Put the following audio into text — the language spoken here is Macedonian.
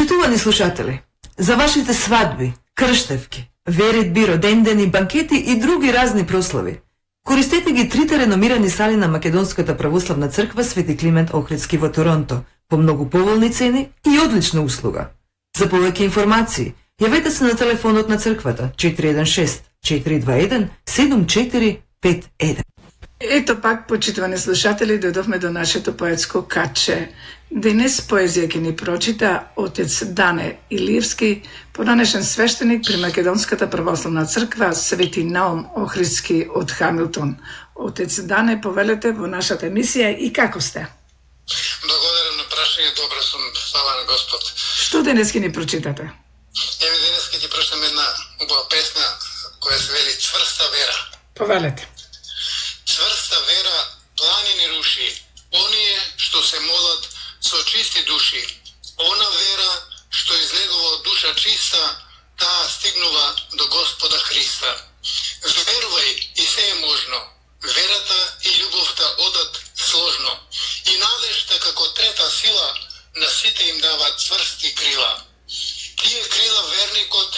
Почитувани слушатели, за вашите свадби, крштевки, веридби, родендени, банкети и други разни прослави, користете ги трите реномирани сали на Македонската православна црква Свети Климент Охридски во Торонто по многу поволни цени и одлична услуга. За повеќе информации, јавете се на телефонот на црквата 416-421-7451. Ето пак, почитувани слушатели, дојдовме до нашето поетско каче. Денес поезија ќе ни прочита отец Дане Илиевски, поранешен свештеник при Македонската православна црква Свети Наум Охридски од Хамилтон. Отец Дане, повелете во нашата емисија и како сте? Благодарам на прашање, добро сум, слава на Господ. Што денес ќе ни прочитате? Еве денес ќе ти прочитам една убава песна која се вели Цврста вера. Повелете. Цврста вера планини руши, оние што се молат со чисти души. Она вера што излегува од душа чиста, таа стигнува до Господа Христа. Верувај и се е можно. Верата и љубовта одат сложно. И надежта како трета сила на сите им дава цврсти крила. Тие крила верникот